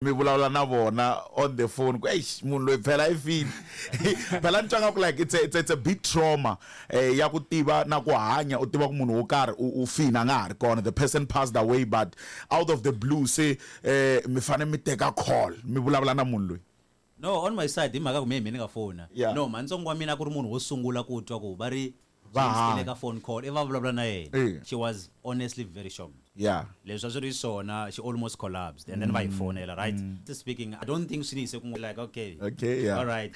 Mi vulavula na vona on the phone ku eish, munhu loyi phela i file. Phela ni twa nga ku like it's a big trauma ya ku tiva na ku hanya u tiva ku munhu wo karhi u file, a nga ha ri kona, the person passed away, but out of the blue se mi fane mi teka call mi vulavula na munhu loyi. No, on my side hi mhaka ku me hi mina ni nga fona. No, mhanitsongo wa mina a ku ri munhu wo sungula ku twa ku va ri Va James i le hanya. ka phone call i va vulavula na yena. She was honestly very shocked. Leswi a swi ri swona, she almost collapsed and then va hi fonela, right? Speaking, I don't think swi ni yise kun'wana, like okay. Okay, yeah. All right.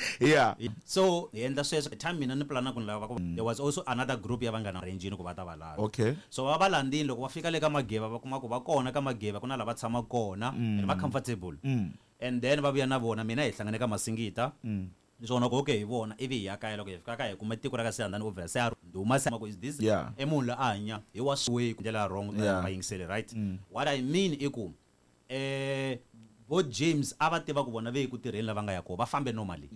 So hi endla sweswo time mina ni plana ku ni lava ku there was also another group ya vanghana range-ini ku va ta va lava. So va va landzini, loko va fika le ka Mageva va kuma ku va kona ka Mageva, ku na lava tshamaka kona and va comfortable. And then va vuya na vona, mina hi hlangane ka Masingita. Ni swona ku okay hi vona, ivi hi ya kaya. Loko hi fika kaya hi kuma tiko ra ka Siyandhani obvious se a ndhuma se ku is this i munhu loyi a hanya hi wa way ndlela ya wrong va yingiseli, right? What I mean i ku vo James a va tiva ku vona ve ku tirheni lava nga ya kona, va fambe normally.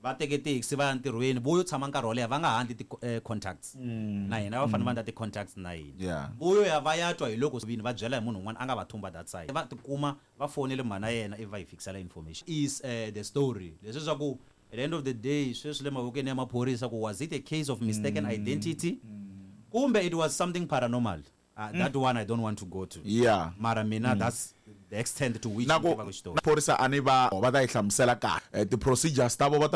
Va teke taxi va ya ntirhweni, vo yo tshama nkarhi wo leha va nga ha endli ti contacts na hina, va fanele va endla ti contacts na hina. Vo yo ya va ya twa hi loko vini va byela hi munhu un'wana a nga va thumba that side, va tikuma va fonele mhana yena ivi va hi fikisela information. Is the story leswi swa ku at the end of the day sweswi le mavokweni ya maphorisa ku was it a case of mistaken identity kumbe it was something paranormal? That one I don't want to go to. Mara mina that's the extent to which Na ni ku tivaka xitori. Phorisa a ni va va ta yi hlamusela kahle ti-procedures ta vo va ta.